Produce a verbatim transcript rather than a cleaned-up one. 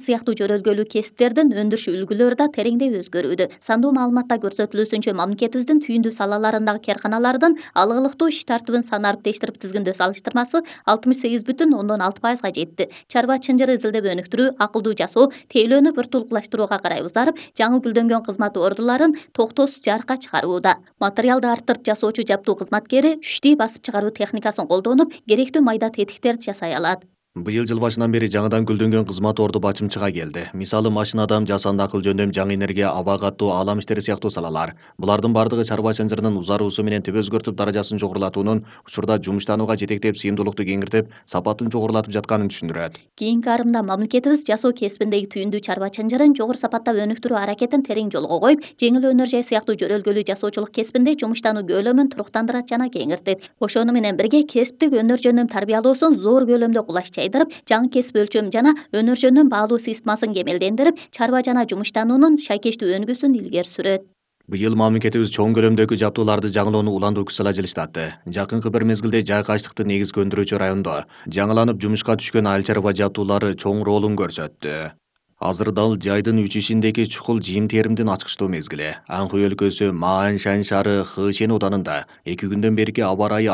сыяктуу жөрөлгөлүү кесиптердин өндүрүш үлгүлөрү да тереңдей өзгөрүүдө. Сандуу маалыматта көрсөтүлүүсүнчө мамлекетибиздин түйүндүү салаларындагы кээрканалардын алгылыктуу иш тартыбын санарып тештирип тизгиндөө салыштырмасы алтымыш сегиз бүтүн ондон алты пайызга жетти. Чарба чынжыры изилдеп өнүктүрүү, акылдуу жасоо, тейлөөнү бир тулукташтырууга карай узарып, жаңы гүлдөнгөн кызмат ордуларын токтоосуз жарыкка чыгарууда. Материалды арттырып жасоочу жаптуу кызматкери үчтий басып чыгаруу техникасын колдонуп, керектүү майда тетиктерди жасай алат. Быйыл жыл башынан бери жаңыдан гүлдөнгөн кызмат орду бачымчыга келди. Мисалы машинадан жасанды акыл жөндөм, жаңы энергия, аба каттоо, аалам иштери сыяктуу салалар. Булардын бардыгы чарба чынжырынын узаруусу менен теп өзгөртүп даражасын жогорулатуунун, учурда жумуштанууга жетектеп, сыйымдуулукту кеңиртип, сапатын жогорулатып жатканын түшүндүрөт. Кийинки арымда мамлекетибиз жасоо кесибиндеги түйүндүү чарба чынжырын жогору сапаттап өнүктүрүү аракетин терең жолго коюп, жеңил өнөр жай сыяктуу жөрөлгөлүү жасоочулук кесибинде жумуштануу көлөмүн туруктандырат жана кеңиртет. Ошону менен бирге кесиптик өнөр жөндөм тарбиялоосун зор көлөмдө кулач жайдырып, жаңы кесип өлчөм жана өнөр жөндөм баалуу системасын кемелдендирип, чарба жана жумуштануунун шайкештүү өнүгүүсүн илгери сүрөт. Быйыл мамлекетибиз чоң көлөмдөгү жаптууларды жаңылоону уландуу күч сала жылыштатты. Жакынкы бир мезгилде жай качтыкты негизги өндүрүүчү райондо жаңыланып жумушка түшкөн айыл чарба жаптуулары чоң ролун көрсөттү. Азыр дал жайдын үчүшиндеги чукул жыйым теримдин ачкычтуу мезгили. Анхуй өлкөсү Маань Шань шаары Хычэн ауданында эки күндөн берки аба ырайы